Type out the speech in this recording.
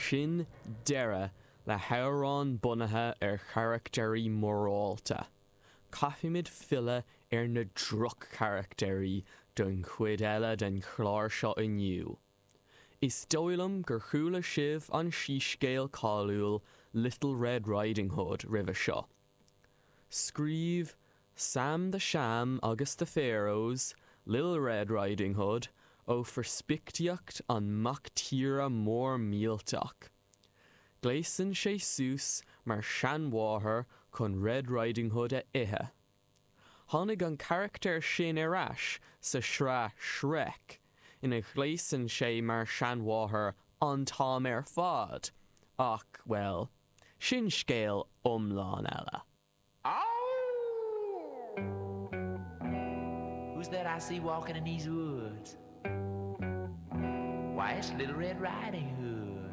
Sin deireadh le hamhráin bunaithe ar charactairí morálta. Caithfimid filleadh ar na droch-charactairí don chuid eile den chlár seo inniu. Is dóigh liom gur chuala sibh an síscéal cáiliúil Little Red Riding Hood roimhe seo. Scríobh Sam the Sham agus The Pharaohs Lil Red Riding Hood ó pheirspictíocht an mac tíre mór millteach. Gléasann sé suas mar seanmháthair chun Red Riding Hood a ithe. Tháinig an carachtar sin ar ais sa sraith Shrek, ina ghléasann sé mar seanmháthair an t-am ar fad, ach, bhuel, sin scéal iomlán eile. Who's that I see walking in these woods? Why, it's Little Red Riding Hood.